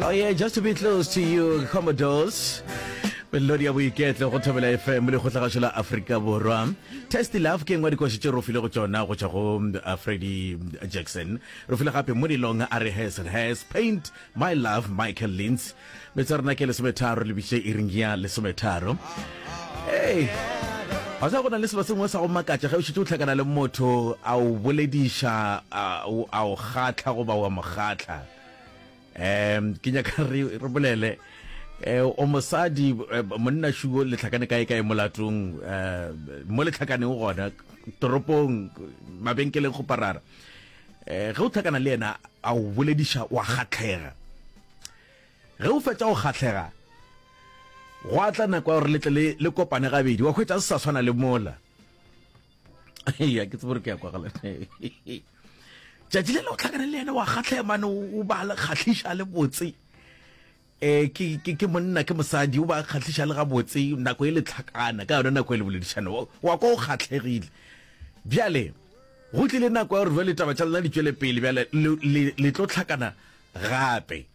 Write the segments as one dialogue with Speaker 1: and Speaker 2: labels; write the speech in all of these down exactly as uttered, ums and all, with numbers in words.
Speaker 1: Oh yeah, just to be close to you, Commodores. Melodi ya boiketlo go Thobela F M le kgotlagašo la Afrika Borwa. Testy Love ke engwe dikoši tše re file go tšona go tšwa go uh, Freddie Jackson. Re file gape Modilong a re Has and Has Paint My Love, Michael Lintz. Metsa rena ke lesometharo le biše iring ya lesometharo. Hey, ga sa go na le selo sengwe sa go makatša ge o šetše o hlakana le motho a o bolediša, a o a o kgatla goba wa mo kgatla. um ke nyaka re re bolele, eh, o mosadi, eh, monna shuo le tlhakane kae kae molatong, eh, mo le tlhakaneng gona toropong, mabenkeleng, go parara, eh, ge o tlhakana le yena a o bolediša, wa kgatlhega. Ge o fetša go kgatlhega, go a tla nako ya gore le tle le le kopane gabedi, wa hwetša se sa tshwana le mola. Ya ke tsebe gore ke ya kwagala. Tšatši le le o tlhakane le yena, wa kgatlhega mane, o ba le kgahliša le botse, um ke ke ke monna, ke mosadi, o ba kgahliša le gabotse. Nako e le tlhakana ka yona, nako e le boledišana, wa wa kwa o kgatlhegile. Bjale go tlile nako ya gore jale taba tša lena di tšwele pele. Bjale le le- le tlo tlhakana gape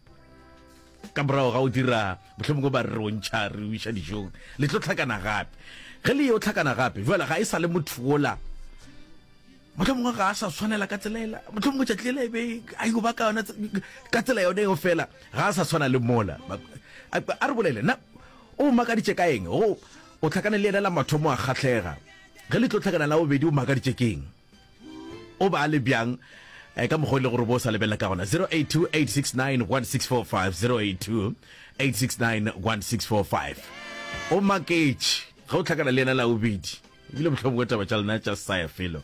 Speaker 1: ka morago ga o dira, mohlomongwe ba re re o ntšha, re o iša dijong. Le tlo tlhakana gape. Ge le yo tlhakana gape jale, ga e sa le motho ola, mohlomongwe ga a sa tshwanela ka tsela ela, mohlomongwe tšatši lela e be a yo ba ka yona tse- ka tsela yone eo, fela ga a sa tshwana le mola. Ba- a a re bolele na o makaditše ka eng go o tlhakane le yena la mathomo, a kgatlhega. Ge le tlo tlhakana la bobedi, o makaditše keng? O ba le bjang, eh, ka mokgwa o e le gore bo o sa lebelela ka gona? zero eight two, eight six nine, one six four five, zero eight two, eight six nine, one six four five. O maketše ge o tlhakana le yena la bobedi, ebile mohlomongwe taba tša lena tša sa ya felo,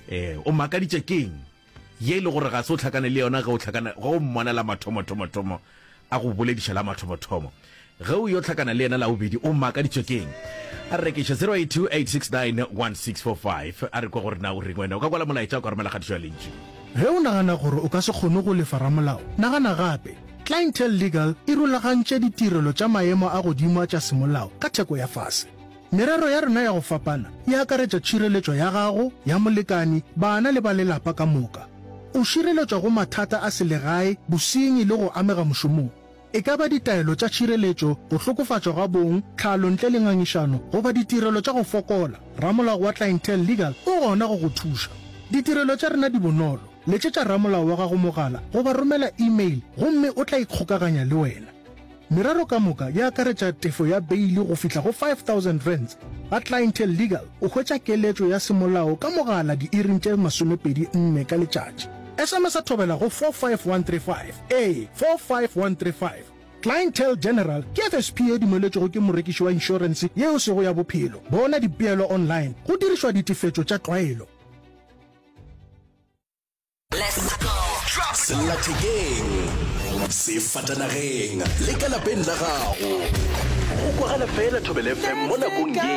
Speaker 1: eh o makaditše keng ye e le gore ga se o tlhakane le yona ge o tlhakana, ge o mmona la mathomo-thomo-thomo, a go bolediša la mathomo-thomo? Ge o yo tlhakana le yena la bobedi, o makaditše keng? A re rekiša zero eight two, eight six nine, one six four five. A re kwa gore na o reng wena. O ka kwala molaetša, o ka romela kgatišo ya lentšu.
Speaker 2: Ge o nagana gore o ka se kgone go lefa ramolao, nagana gape. Clientele Legal e rulagantše ditirelo tša maemo a godimo tša semolao ka theko ya fase. Merero ya rena ya go fapana e akaretša tšhireletšo ya gago, ya molekani, bana le ba lelapa ka moka. O šireletšwa go mathata a selegae, bosenyi le go amega mošomong. E ka ba ditaelo tša tšhireletšo, go hlokofatšwa ga bong, tlhalo ntle le ngangišano, goba ditirelo tša go fokola, ramolao wa Clientele Legal o gona go go thuša. Ditirelo tša rena di bonolo. Letšetša ramolao wa gago mogala goba romela email gomme o tla ikgokaganya le wena. Merero ka moka e akaretša tefo ya beile go fihla go five thousand rands. Ga Clientele Legal o hwetša keletšo ya semolao ka mogala diiring tše masomepedi nne ka letšatši. S M S a thobela go four five one three five, ee, four five one three five. Clientele General ke F S P e dumeletšwego ke morekiši wa inšorense yeo sego ya bophelo. Bona dipeelo online go dirišwa ditefetšo tša tlwaelo.
Speaker 3: Sellathekeng, sefatanageng le ka lapeng la gago, go kwagala fela Thobela F M mo nakong ye.